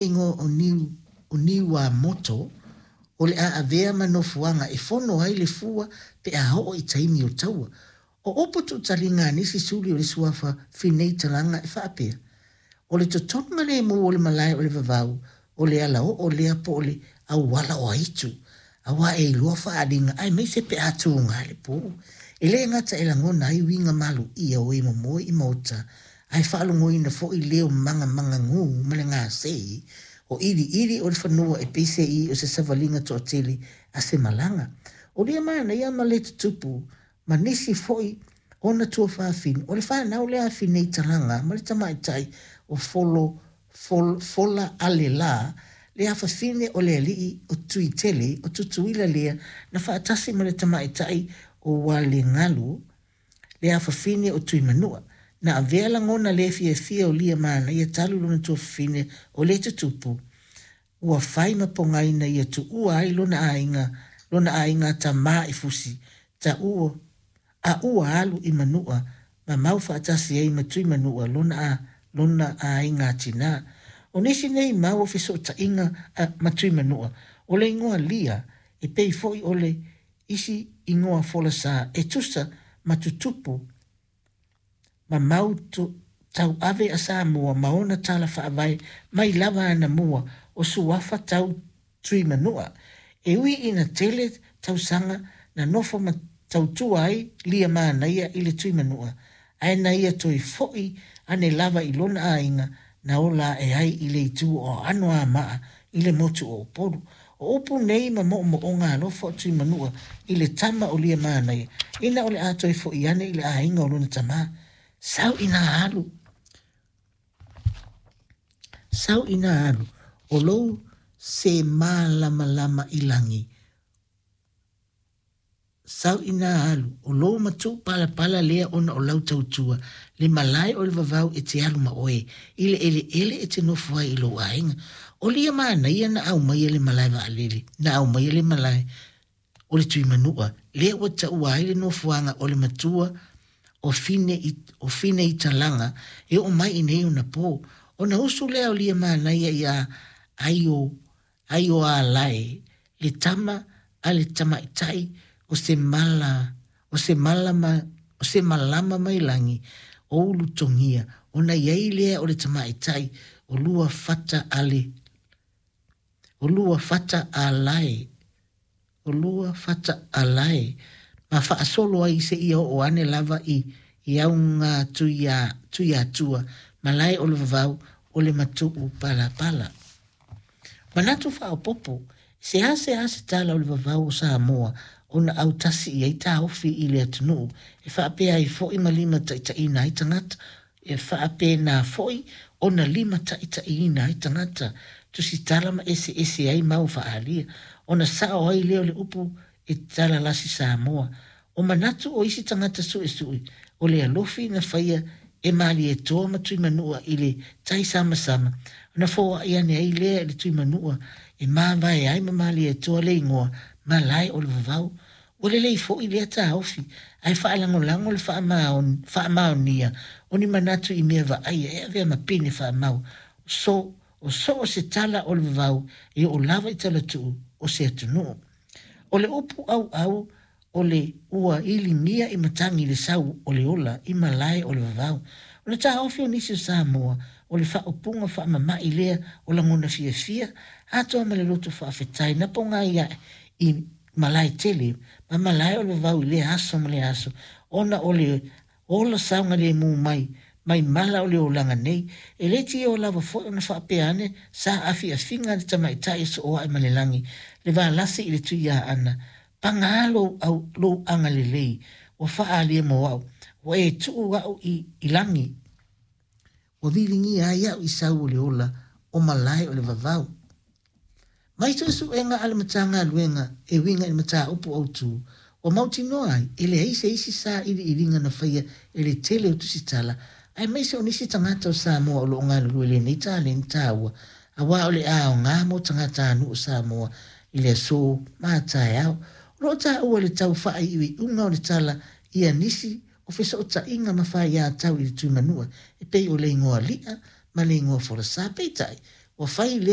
Igoa o Niu, o Niuamoto, o le a avea ma nofoaga e fono ai le fua pe a oo i taimi o taua. O upu tuutaliga a nisi suli o le suafa Fineitalaga e faapea, O le totoga lemu o le malae o le vavau, o le alaoo lea po o le auala o aitu, aua e iloa faaaliga aemaise pe a tuga le po. E le gata e lagona ai uiga maluia o e momoe i maota, ae faalogoina foi leo magamagagū ma le gasē o iliili o le fanua e peiseai o se savaliga toatele a se malaga. O lia manaia ma le tutupu ma nisi foi ona tuafafine, o le fanau lea a Fineitalaga ma le tamaitai o Folo, Fol, Fola Alelā, le afafine o le alii o Tuitele o Tutuila lea na faatasi ma le tamaitai o Walegalu, le afafine o Tuimanua. Na avea lagona le fiafia o lia manaia talu lona tuafafine o le tutupu, ua fai ma pogai na ia tuua ai lona aiga, lona aiga tamā i Fusi, taua, a ua alu i Manua ma mau faatasi ai ma Tuimanua lona a, lona aiga tinā. O nisi nei mau o fesootaiga a, ma Tuimanua, o le igoa lia, e pei foi o le isi igoa folasa e tusa ma tutupu ma mau tauave a Samoa ma ona tala faavae mai lava anamua o suafa tau Tuimanua. E ui ina tele tausaga na nofo ma tautua ai Lia Manaia i le Tuimanua, ae na ia toe fo'i ane lava i lona aiga na ola ae ai i le itu o Anoamaa i le motu o Upolu. O upu nei ma moomooga alofa o Tuimanua i le tama o Liamanaia, ina o le a toe fo'i ane i le aiga o lona tamā. Sau ina alu, sau ina alu, o lou se mālamalama i lagi, Sau ina alu, o lou matuu palapala lea ona o lau tautua, le malae o le vavau e te alu ma oe, i le eleele e te nofo ai i lou aiga. O lia manaia na aumaia le malae vaalele, na aumaia le malae o le Tuimanua, lea ua taua ai le nofoaga o le matua o Fine i, o Fineitalaga e oo mai i nei ona po. Ona usu lea o lia manaia iā Aio Aioālae, le tama a le tamaitai o se mala, o se malama, o se malama mai lagi, o Ulutogia, ona i ai lea o le tamaitai o lua fata a le, o lua fata a lae, o lua fata a lae, ma faasolo ai seia oo ane lava i, i auga Tuia, Tuiatua, malae o le vavau o le matuu palapala. Manatu faaopoopo, seasea se tala o le vavau o Samoa ona autasi i ai taofi i le atunuu e faapea ai foi ma limataitaiina ai tagata, e faapena foi ona limataitaiina ai tagata, tusitala ma eseese ai mau faaalia, ona sao ai lea o le upu e talalasi Samoa. O manatu o isi tagata suesue, o le alofi na faia e Malietoa ma Tuimanua i le tai samasama, ona foai ane ai lea i le Tuimanua e mavae ai ma Malietoa le igoa malae o le vavau. Ua lelei foi lea taofi, ae faalagolago le faamaonia o ni manatu i mea vaaia e avea ma pine faamau. So, o so o se tala o le vavau e oo lava i talatuu o se atunuu. O le upu auau o le ua iligia i matagi le sau o le ola i malae o le vavau. O le taofi o nisi o Samoa, o le faaupuga faamama'i lea o lagona fiafia, atoa ma le loto faafetai na pogai ae i malae tele ma malae o le vavau i lea aso ma lea aso, ona o le ola saogalemu mai, mai mala o le olaga nei. E le tioa lava foi ona faapea ane sa afiafiga a le tamaitai e sooae ma le lagi, le valasi i le Tuiaana, Paga lou au, lou agalelei, ua faaalia mo au, ua e tuu au i, i lagi. Ua viligia ai au i sau o le ola o malae o le vavau. Mai suesuega a le Matagaluega e uiga i le mataupu autu, ua mautinoa ai, e leai se isi sailiiliga na faia e le tele o tusitala, aemaise o nisi tagata o Samoa o lo o galulue i lenei taleni taua, aua o le aoga mo tagatanuu o Samoa i le aso ma a taeao. O lo o taua le tau faaiuiuga o le tala ia nisi o fesootaiga ma faiatau i le Tuimanua e pei o le igoa li'a ma le igoa folasa. Peitai, Ua fai lea.